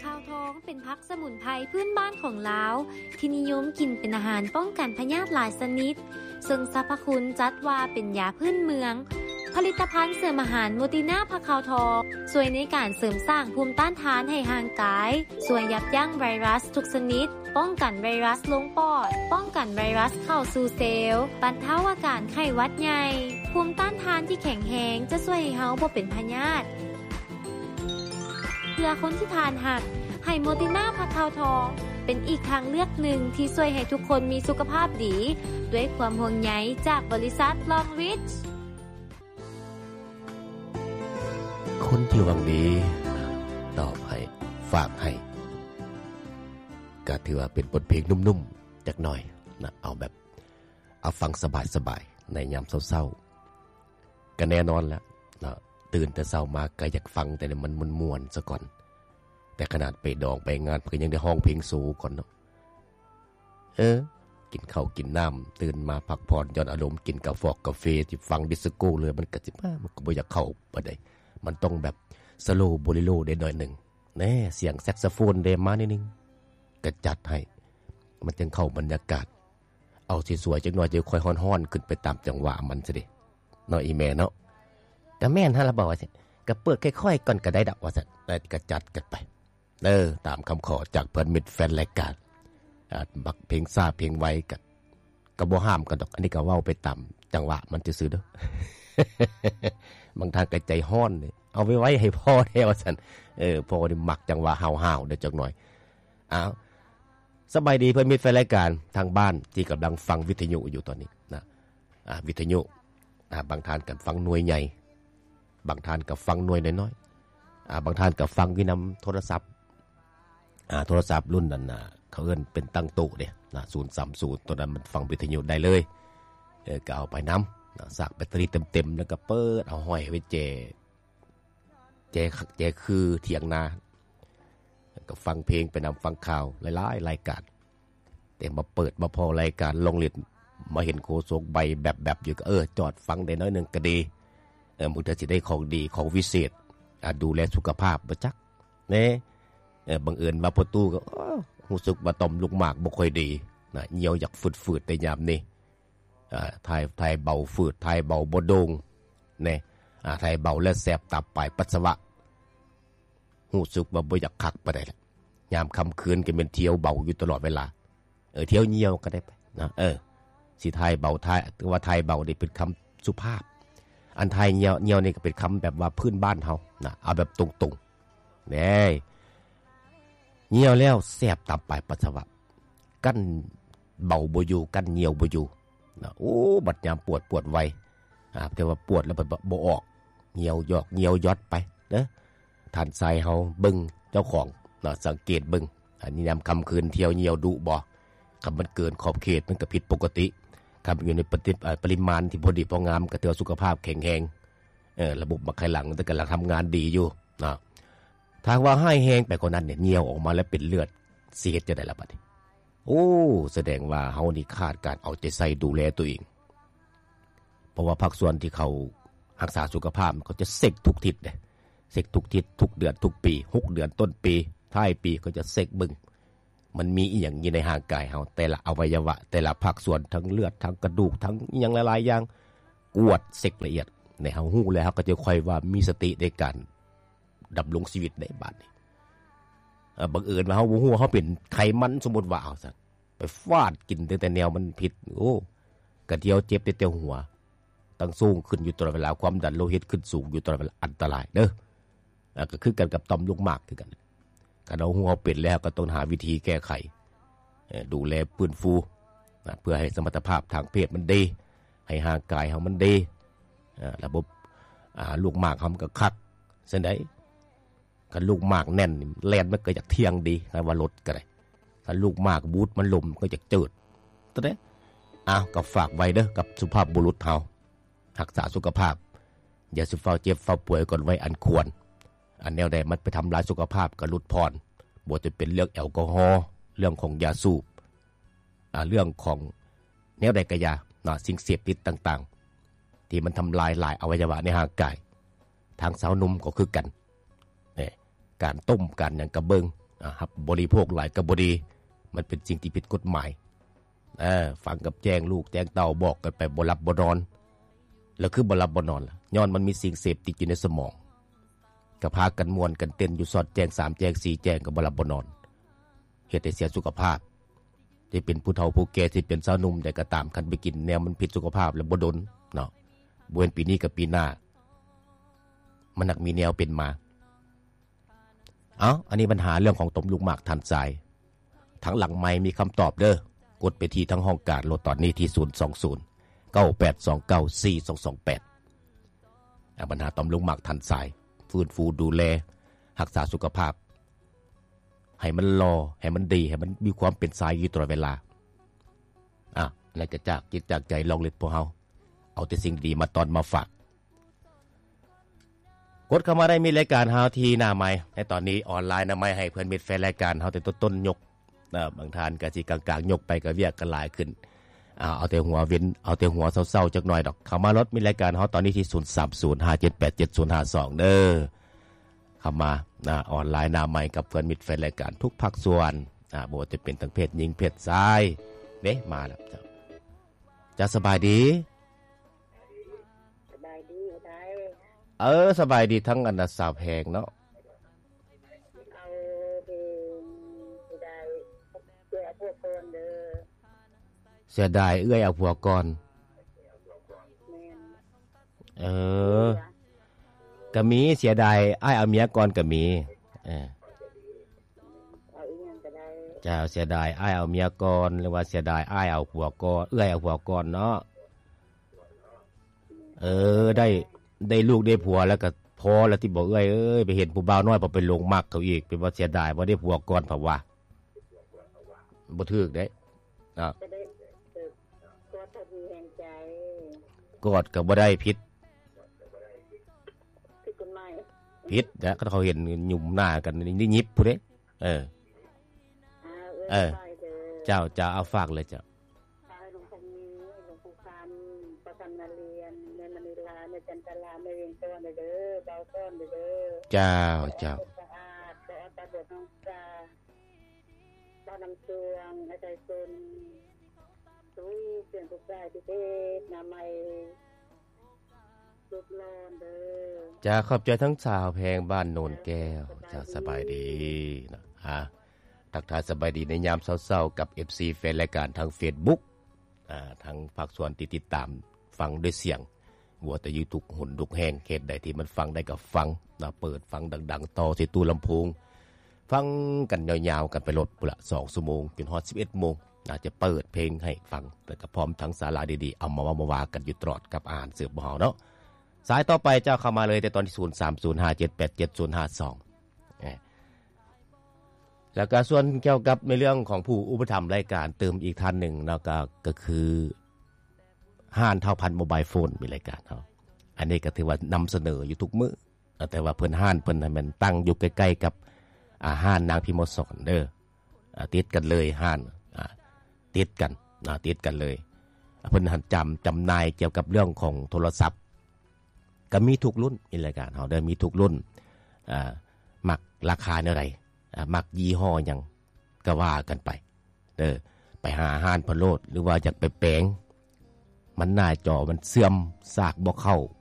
ຂ່າວທອງເປັນຜັກສະໝຸນໄພພື້ນບ້ານຂອງລາວ ທີ່ນິຍົມກິນເປັນອາຫານປ້ອງກັນພະຍາດຫຼາຍຊະນິດ, ເຊິ່ງສັບພະຄຸນຈັດວ່າເປັນຢາພື້ນເມືອງ. ຜະລິດຕະພັນເສີມອາຫານໂມຕິນາຜັກຂ່າວທອງ ຊ່ວຍໃນການເສີມສ້າງພູມຕ້ານທານໃຫ້ຮ່າງກາຍ, ຊ່ວຍຢັບຢັ້ງໄວຣັສທຸກຊະນິດ, ປ້ອງກັນໄວຣັສລົງປອດ, ປ້ອງກັນໄວຣັສເຂົ້າສູ່ເຊວ, ບັນເທົາອາການໄຂ້ຫວັດໃຫຍ່. ພູມຕ້ານທານທີ່ແຂງແຮງຈະຊ່ວຍໃຫ້ເຮົາບໍ່ເປັນພະຍາດ. ເພື່ອຄົນທີ່ທ່ານຮັກ, ໃຫ້ໂມຕິນາຜັກຂ່າວທອງ ເປັນອີກທາງເລືອກໜຶ່ງທີ່ຊ່ວຍໃຫ້ທຸກຄົນມີສຸຂະພາບດີ ດ້ວຍຄວາມຫ່ວງໃຍຈາກບໍລິສັດ Long Reach. ຄົນທີ່ຫວັງດີ ຕອບໃຫ້ ຝາກໃຫ້ ກະຖືວ່າເປັນບົດເພງນຸ້ມໆຈັກໜ້ອຍນະ, ເອົາແບບ ເອົາຟັງສະບາຍໆໃນຍາມເຊົ້າໆ. ກະແນ່ນອນແຫຼະເນາະ, ຕື່ນແຕ່ເຊົ້າມາກະຢາກຟັງແຕ່ມັນມ່ວນໆຊະກ່ອນ, ແຕ່ຂະໜາດໄປດອງໄປງານ ເພິ່ນກະຍັງໄດ້ຮ້ອງເພງໂຊກ່ອນເນາະ. ເອີ ກິນເຂົ້າກິນນ້ຳ, ຕື່ນມາພັກຜ່ອນຢ່ອນອາລົມ, ກິນກາຟອກກາເຟ, ຊິຟັງດິສໂກ້ເລີຍ ມັນກະຊິ ມັນກະບໍ່ຢາກເຂົ້າປານໃດ. ມັນຕ້ອງແບບສະໂລໂບເລໂລໄດ້ໜ້ອຍໜຶ່ງ ແນ່ ສຽງແຊັກໂຊໂຟນໄດ້ມາໜ້ອຍໜຶ່ງ ກະຈັດໃຫ້ ມັນຈຶ່ງເຂົ້າບັນຍາກາດ. ເອົາສວຍໆຈັກໜ້ອຍ ຈັ່ງຄ່ອຍຮ້ອນໆຂຶ້ນໄປຕາມຈັງຫວະມັນຊະເດ ເນາະ ອີ່ແມ່ເນາະ. ກະແມ່ນຫັ້ນລະບໍ ວ່າຊັ້ນ, ກະເປີດຄ່ອຍໆກ່ອນກະໄດ້ດອກ ວ່າຊັ້ນ, ແລ້ວກະຈັດກັນໄປ. ເອີ ຕາມຄຳຂໍຈາກເພື່ອນມິດແຟນລາຍການ, ອາ ມັກເພງຊ້າເພງໄວກະ ກະບໍ່ຫ້າມກັນດອກ, ອັນນີ້ກະເວົ້າໄປຕາມຈັງຫວະມັນຊື່ໆເດີ້. ບາງທ່ານກະໃຈຮ້ອນເດ ເອົາໄວໆໃຫ້ພໍແດ່ ວ່າຊັ້ນ. ເອີ ພໍນີ້ມັກຈັງຫວະຫ້າວໆເດີ້ຈັກໜ້ອຍ. ອ້າວ ສະບາຍດີເພື່ອນມິດແຟນລາຍການທາງບ້ານທີ່ກຳລັງຟັງວິທະຍຸຢູ່ຕອນນີ້ນະ. ອາ ວິທະຍຸ ອາ ບາງທ່ານກະຟັງໜ່ວຍໃຫຍ່, ບາງທ່ານກະຟັງໜ່ວຍນ້ອຍໆ, ອາ ບາງທ່ານກະຟັງຢູ່ນຳໂທລະສັບ, ອາ ໂທລະສັບລຸ້ນນັ້ນນະ ເຂົາເອີ້ນເປັນຕັ້ງໂຕະເດ້ນະ ສູນສາມສູນ ໂຕນັ້ນມັນຟັງວິທະຍຸໄດ້ເລີຍ. ເອີ ກະເອົາໄປນຳນະ, ສາກແບັດເຕີຣີເຕັມໆ ແລ້ວກະເປີດເອົາຫ້ອຍໄວ້ແຈ ແຈ ແຈຄືຖຽງນາ, ກະຟັງເພງໄປນຳ ຟັງຂ່າວຫຼາຍໆລາຍການ. ແຕ່ມາເປີດມາພໍລາຍການລອງລິດ ມາເຫັນໂຄສົກໃບແບັບໆຢູ່ ກະ ເອີ ຈອດຟັງໄດ້ໜ້ອຍໜຶ່ງກະດີ. ເອີ ບາງເທື່ອຊິໄດ້ຂອງດີຂອງວິເສດ ອາ ດູແລສຸຂະພາບບໍ່ຈັກແນ່. ເອີ ບັງເອີນວ່າພໍ່ຕູ້ກະ ເອີ ຮູ້ສຶກວ່າຕ່ອມລູກໝາກບໍ່ຄ່ອຍດີນະ, ຍ່ຽວຢາກຝືດໆໃນຍາມນີ້. ອາ ຖ່າຍ ຖ່າຍເບົາຝືດ ຖ່າຍເບົາບໍ່ໂດ່ງແນ່ ອາ ຖ່າຍເບົາແລ້ວແສບຕາມປາຍປັດສະວະ ຮູ້ສຶກວ່າບໍ່ຢາກຄັກປານໃດລະ. ຍາມຄ່ຳຄືນກະແມ່ນທ່ຽວເບົາຢູ່ຕະຫຼອດເວລາ. ເອີ ທ່ຽວຍ່ຽວກະໄດ້ໄປນະ. ເອີ ຊິຖ່າຍເບົາ ຖ່າຍ ຖືວ່າຖ່າຍເບົານີ້ເປັນຄຳສຸພາບ, ອັນຖ່າຍຍ່ຽວ ຍ່ຽວນີ້ກະເປັນຄຳແບບວ່າພື້ນບ້ານເຮົານະ ເອົາແບບຕົງໆແນ່. ຍ່ຽວແລ້ວແສບຕາມປາຍປັດສະວະ ກັ້ນເບົາບໍ່ຢູ່ ກັ້ນຍ່ຽວບໍ່ຢູ່ນະ. ໂອ້ ບັດຍາມປວດ ປວດໄວ ອາ ແຕ່ວ່າປວດແລ້ວບັດບໍ່ອອກ ຍ່ຽວຢອກຍ່ຽວຢອດໄປເດີ້. ທ່ານຊາຍເຮົາເບິ່ງເຈົ້າຂອງນະ ສັງເກດເບິ່ງ ອັນນີ້ຍາມຄ່ຳຄືນທ່ຽວຍ່ຽວດຸບໍ່? ຄັນມັນເກີນຂອບເຂດມັນກະຜິດປົກກະຕິ, ຄັນຢູ່ໃນປະຕິ ອາ ປະລິມານທີ່ພໍດີພໍງາມກະຖືວ່າສຸຂະພາບແຂງແຮງ. ເອີ ລະບົບໝາກໄຂ່ຫຼັງມັນກຳລັງທຳງານດີຢູ່ເນາະ. ຖ້າຫາກວ່າຮ້າຍແຮງໄປກວ່ານັ້ນນີ້ ຍ່ຽວອອກມາແລ້ວເປັນເລືອດ ຊິເຮັດຈັ່ງໃດລະບາດນີ້? ໂອ້ ສະແດງວ່າເຮົານີ້ຂາດການເອົາໃຈໃສ່ດູແລຕົວເອງ. ເພາະວ່າພາກສ່ວນທີ່ເຂົາຮັກສາສຸຂະພາບ ເຂົາຈະເຊັກທຸກທິດເດ້, ເຊັກທຸກທິດ ທຸກເດືອນ ທຸກປີ, ຫົກເດືອນ ຕົ້ນປີ ທ້າຍປີ ເຂົາຈະເຊັກເບິ່ງ ມັນມີອີ່ຫຍັງຢູ່ໃນຮ່າງກາຍເຮົາ ແຕ່ລະອະໄວຍະວະ ແຕ່ລະພາກສ່ວນ ທັງເລືອດ ທັງກະດູກ ທັງອີ່ຫຍັງຫຼາຍໆຢ່າງ ກວດເຊັກລະອຽດໃຫ້ເຮົາຮູ້ ແລ້ວເຮົາກະຈະຄ່ອຍວ່າມີສະຕິໃນການດຳລົງຊີວິດໄດ້ບາດນີ້. ເອີ ບັງເອີນວ່າເຮົາບໍ່ຮູ້ວ່າເຮົາເປັນໄຂມັນ ສົມມຸດວ່າ ເອົາຊັ້ນ ໄປຟາດກິນຕັ້ງແຕ່ແນວມັນຜິດ ໂອ້ ກະທ່ຽວເຈັບແຕ່ຫົວ ຕັ້ງສູງຂຶ້ນຢູ່ຕະຫຼອດເວລາ ຄວາມດັນໂລຫິດຂຶ້ນສູງຢູ່ຕະຫຼອດເວລາ ອັນຕະລາຍເດີ້. ອາ ກະຄືກັນກັບຕ່ອມລູກໝາກຄືກັນ, ຄັນເຮົາຮູ້ເຮົາເປັນແລ້ວ ກະຕ້ອງຫາວິທີແກ້ໄຂ ເອີ ດູແລຟື້ນຟູນະ ເພື່ອໃຫ້ສະມັດຕະພາບທາງເພດມັນດີ, ໃຫ້ຮ່າງກາຍເຮົາມັນດີ, ອາ ລະບົບ ອາ ລູກໝາກເຮົາມັນກະຄັກ. ຊັ້ນໃດ ຄັນລູກໝາກແໜ້ນ ແລ່ນມັນກະຢາກທ່ຽງດີ ຄັນວ່າລົດກະໄດ້. ຄັນລູກໝາກບູດມັນລົ້ມກະຢາກເຈີດ. ຈັ່ງໃດ ອ້າວ ກະຝາກໄວ້ເດີ້ ກັບສຸພາບບຸລຸດເຮົາ ຮັກສາສຸຂະພາບ ຢ່າສູ່ຟ້າວເຈັບຟ້າວປ່ວຍກ່ອນໄວອັນຄວນ. ອັນແນວໃດມັນໄປທຳລາຍສຸຂະພາບກະຫຼຸດຜ່ອນ, ບໍ່ວ່າຈະເປັນເລື່ອງແອລກໍຮໍ, ເລື່ອງຂອງຢາສູບ, ອາ ເລື່ອງຂອງແນວໃດກະຢ່າເນາະ, ສິ່ງເສບຕິດຕ່າງໆ ທີ່ມັນທຳລາຍຫຼາຍອະໄວຍະວະໃນຮ່າງກາຍ. ທາງຊາວໜຸ່ມກໍຄືກັນ, ເອີ ການຕົ້ມການຫຍັງກະເບິ່ງ ອາ ຮັບບໍລິໂພກຫຼາຍກໍບໍ່ດີ ມັນເປັນສິ່ງທີ່ຜິດກົດໝາຍ. ເອີ ຟັງກັບແຈ້ງລູກແຈ້ງເຕົ້າ ບອກກັນໄປບໍ່ຫຼັບບໍ່ນອນ. ແລ້ວຄືບໍ່ຫຼັບບໍ່ນອນລະ? ຍ້ອນມັນມີສິ່ງເສບຕິດຢູ່ໃນສະໝອງ ກໍພາກັນມ່ວນກັນເຕັ້ນຢູ່ສອດແຈ້ງສາມແຈ້ງສີ່ແຈ້ງ ກໍບໍ່ຫຼັບບໍ່ນອນ ເຮັດໃຫ້ເສຍສຸຂະພາບ. ຊິເປັນຜູ້ເຖົ້າຜູ້ແກ່ ຊິເປັນຊາວໜຸ່ມໃດກໍຕາມ ຄັນໄປກິນແນວມັນຜິດສຸຂະພາບແລ້ວບໍ່ດົນເນາະ ບໍ່ແມ່ນປີນີ້ກໍປີໜ້າ ມັນຮັກມີແນວເປັນມາ. ເອົ້າ ອັນນີ້ບັນຫາເລື່ອງຂອງຕ່ອມລູກໝາກທານຊາຍ ທາງຫຼັງໄມມີຄຳຕອບເດີ້ ກົດໄປທີ່ທາງຫ້ອງການໂລດຕອນນີ້ທີ່ ສູນສອງສູນ ເກົ້າແປດສອງເກົ້າ ສີ່ສອງສອງແປດ. ອາ ບັນຫາຕ່ອມລູກໝາກທານຊາຍ ຟື້ນຟູດູແລ ຮັກສາສຸຂະພາບ ໃຫ້ມັນຫຼໍ່ ໃຫ້ມັນດີ ໃຫ້ມັນມີຄວາມເປັນຊາຍຢູ່ຕະຫຼອດເວລາ. ອາ ອັນນັ້ນກໍຈາກຈິດຈາກໃຈລອກເລັດພວກເຮົາ ເອົາແຕ່ສິ່ງດີໆມາຕ້ອນມາຝາກ. ກົດເຂົ້າມາໄດ້ ມີລາຍການເຮົາທີ່ໜ້າໄມ ໃນຕອນນີ້ອອນລາຍໜ້າໄມໃຫ້ເພື່ອນມິດແຟນລາຍການເຮົາແຕ່ຕົ້ນໆຍົກ. ເອີ ບາງທ່ານກໍຊິກາງໆຍົກໄປ ກໍວຽກກໍຫຼາຍຂຶ້ນ. ເອົາ ເອົາແຕ່ຫົວເວັນ ເອົາແຕ່ຫົວເຊົ້າໆຈັກໜ້ອຍດອກ. ເຂົ້າມາໂລດ ມີລາຍການເຮົາຕອນນີ້ທີ່ ສູນສາມສູນ ຫ້າເຈັດແປດເຈັດສູນຫ້າສອງ ເດີ້. ເຂົ້າມາ ອາ ອອນລາຍໜ້າໄມກັບເພື່ອນມິດແຟນລາຍການທຸກພາກສ່ວນ ອາ ບໍ່ວ່າຈະເປັນທັງເພດຍິງເພດຊາຍເດ້. ມາແລ້ວ ເຈົ້າ ເຈົ້າ ສະບາຍດີ. ສະບາຍດີ ເອີ ສະບາຍດີທັງອັນນາສາວແພງເນາະ. ເອົາເພງ ເສຍດາຍເອື້ອຍເອົາຜົວກ່ອນເດີ້. ເສຍດາຍເອື້ອຍເອົາຜົວກ່ອນ. ແມ່ນ. ເອີ ກະມີ ເສຍດາຍອ້າຍເອົາເມຍກ່ອນກະມີ. ເອີ ເອົາອີ່ຫຍັງກໍໄດ້. ເຈົ້າ ເສຍດາຍອ້າຍເອົາເມຍກ່ອນ ຫຼືວ່າເສຍດາຍອ້າຍເອົາຜົວກ່ອນ ເອື້ອຍເອົາຜົວກ່ອນເນາະ. ເອີ ໄດ້ ໄດ້ລູກໄດ້ຜົວແລ້ວກໍພໍແລ້ວຕິບໍເອື້ອຍເອີຍ. ໄປເຫັນຜູ້ບ່າວນ້ອຍ ພໍໄປຫຼົງມັກເຂົາອີກ ເປັນວ່າເສຍດາຍບໍ່ໄດ້ຜົວກ່ອນ ເພາະວ່າບໍ່ຖືກເດ້. ເນາະ ກໍໄດ້ ເອີ ກອດກໍມີແຮງໃຈ ກອດກໍບໍ່ໄດ້ ຜິດ ຜິດກົດໝາຍ ຜິດນະ. ຄັນເຂົາເຫັນຫຍຸມໜ້າກັນນີ້ຍິບພຸ້ນເດ້. ເອີ ເອີ ເອີ ເຈົ້າ ເຈົ້າ ເອົາ ຝາກເລີຍເຈົ້າ. ຝາກໃຫ້ຫຼວງພໍ່ມີ ຫຼວງປູ່ຄຳ ພໍ່ຄຳນາລຽນ ແມ່ມະນີລາ ແມ່ຈັນຕະລາ ແມ່ວຽງສະຫວັນເດີ້ ບ່າວສອນເດີ້. ເຈົ້າ ເຈົ້າ ສະອາດ ບໍ່ອັດຕາບົດນ້ອງສາ ບ້ານນ້ຳຊວງ ອາໄສຊົນ ຕຸ້ຍ ເສຍງຜູ້ຊາຍພິເສດ ໜ້າໃໝ່ ສຸດຫຼໍ່ເດີ້. ເຈົ້າ ຂອບໃຈທັງສາວແພງ ບ້ານໂນນແກ້ວ. ເຈົ້າ ສະບາຍດີເນາະ. ອາ ທັກທາຍສະບາຍດີໃນຍາມເຊົ້າໆກັບເອັຟຊີແຟນລາຍການທາງເຟສບຸກ ອາ ທັງພາກສ່ວນທີ່ຕິດຕາມຟັງດ້ວຍສຽງ ບໍ່ວ່າແຕ່ຢູ່ທຸກຫົນທຸກແຫ່ງ ເຂດໃດທີ່ມັນຟັງໄດ້ກໍຟັງນະ ເປີດຟັງດັງໆ ຕໍ່ໃສ່ຕູ້ລຳໂພງ ຟັງກັນຍາວໆກັນໄປໂລດພຸ້ນລະ ສອງຊົ່ວໂມງ ຈົນຮອດສິບເອັດໂມງ ອາດຈະເປີດເພງໃຫ້ຟັງ ແລ້ວກໍພ້ອມທັງສາລະດີໆ ເອົາມາເວົ້າມາວ່າກັນຢູ່ຕະຫຼອດກັບອາຫານເສີບຂອງເຮົາເນາະ. ສາຍຕໍ່ໄປ ເຈົ້າ ເຂົ້າມາເລີຍ ແຕ່ຕອນທີ່ ສູນສາມສູນ ຫ້າເຈັດແປດເຈັດສູນຫ້າສອງ. ແລ້ວກໍສ່ວນກ່ຽວກັບໃນເລື່ອງຂອງຜູ້ອຸປະຖຳລາຍການຕື່ມອີກທ່ານໜຶ່ງເນາະ ກໍ ກໍຄືຮ້ານທ້າວພັນໂມບາຍໂຟນ ມີລາຍການເຮົາ ອັນນີ້ກໍຖືວ່ານຳສະເໜີຢູ່ທຸກມື້ ແຕ່ວ່າເພິ່ນ ຮ້ານເພິ່ນໃຫ້ມັນຕັ້ງຢູ່ໃກ້ໆກັບ ອາ ຮ້ານນາງພິມມະສອນເດີ້. ອາ ຕິດກັນເລີຍ ຮ້ານ ອາ ຕິດກັນ ອາ ຕິດກັນເລີຍ. ອາ ເພິ່ນຫັ້ນຈຳ ຈຳໜ່າຍກ່ຽວກັບເລື່ອງຂອງໂທລະສັບ ກໍມີທຸກລຸ້ນ ມີລາຍການເຮົາເດີ້ ມີທຸກລຸ້ນ. ອາ ມັກລາຄາແນວໃດ ອາ ມັກຍີ່ຫໍ້ຫຍັງ ກໍວ່າກັນໄປເດີ້ ໄປຫາຮ້ານເພິ່ນໂລດ ຫຼືວ່າຢາກໄປແປງ ມັນໜ້າຈໍມັນເສື່ອມ ສາກບໍ່ເຂົ້າ